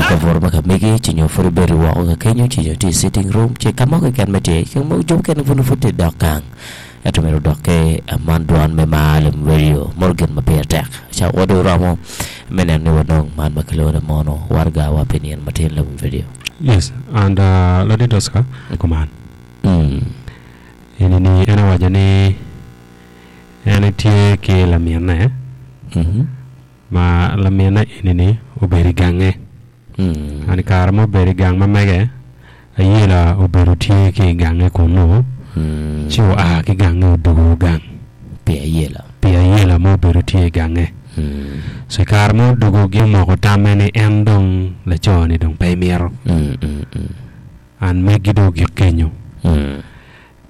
i kabuto ma ka megi, ci nyo pud ibedo woko ka kenyo, ci nyo itye i sitting room, ci ka mo keken ma itye, jo mukene pud nongo pud tye idok gang. Ento myero odok ki man dwan me mar lem radio moto gin ma pire tek. Ca wa dong romo me neno ni wanong man ma kilwongo ni mono waraga wa pi nino matin lem radio. Yes, and uh, Ladit Oscar, kuman. Mm. Eni ni en owaco ni en etye ki laminne Mhm. ma laminne eni ni obedo i gange. Mm. And i kare ma obedo i gang ma mege, ayela obedo tye ki i gange kunnu, Mm. ci oa ki gange odwogo gang Pi ayela. pi ayela ma obedo tye i gange. Mm. So i kare ma odwogo gi omoko tamme ni en dong laco-ni dong pe emito. Mm, mm, mm. And megi dong ogik kenyo. Mm.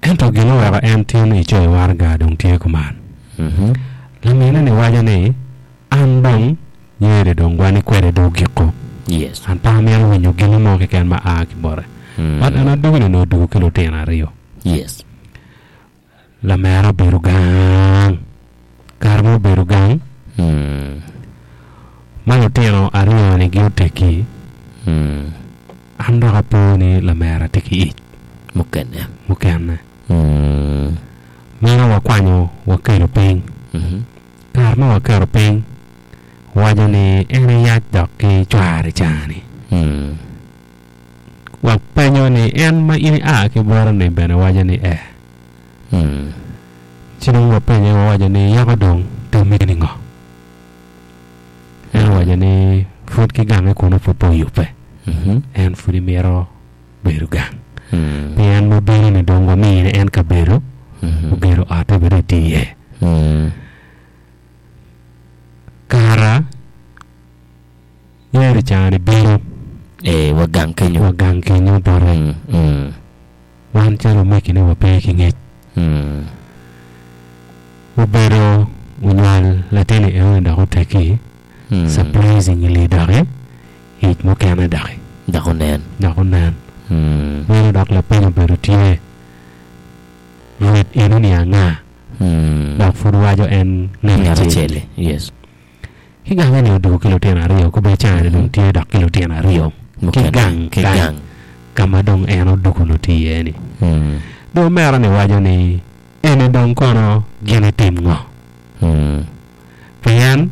Ento gin oweko en tin icoyo waraga dong tye kuman. Mhm. Lamine-ni waco ni, An dong nyeri dong wani kwede dong ogiko. Yes. An pe amito winyo gin mo keken ma a ki bote. Mm. But en adugo-ni onongo odugo ki lutino aryo. Yes. Lamera obedo gang. Kare ma obedo gang, Mm. ma lutino aryo-ni gi oteggi, Mm. an dok apo ni lamera tye ki ic Mukene. mukene. Mm. Meno wakwanyo wakelo piny. Mhm. Kare ma waketo piny, waco ni en eyac dok ki cware ca-ni. Mm. Wapenyo ni en ma in ia ki bote-ni bene waco ni ee. Mm. Ci dong wapenye wawaco ni yako dong tammi ni ngo? En owaco ni pud ki gange kunu pud pe oyubbe. Mhm. En pud imito bedo gang. Mm. Pien ma bino-ni dong wamine en kabedo, Mhm. ogedo otte bene etye iye. Mm. Kara Yeri ca-ni bino Ee, wa gang kenyo. wa gang kenyo bote. Mm. Mm. Wan calo omegine wape ki ngec. Mm. Obedo onywal latin-ni enoni dok oteggi, Mm. surprisingly doki ic mukene doki Dok onen. dok onen. Mm. Meno dok lapeny obedo tye, Rwed enoni anga? Mm. Dok pud waco en ngat Ngat acel-li. acel-li. Yes. Ki gange ni odwogo ki lutino aryo, kobbe caa-ni dong tye dok ki lutino aryo ki Mukene, gang ki kany gang. ka ma dong en odwogo-nu tye iye-ni. Mm. Dong omera-ni waco ni, Eni dong kono gin itim ngo? Mm. Pien.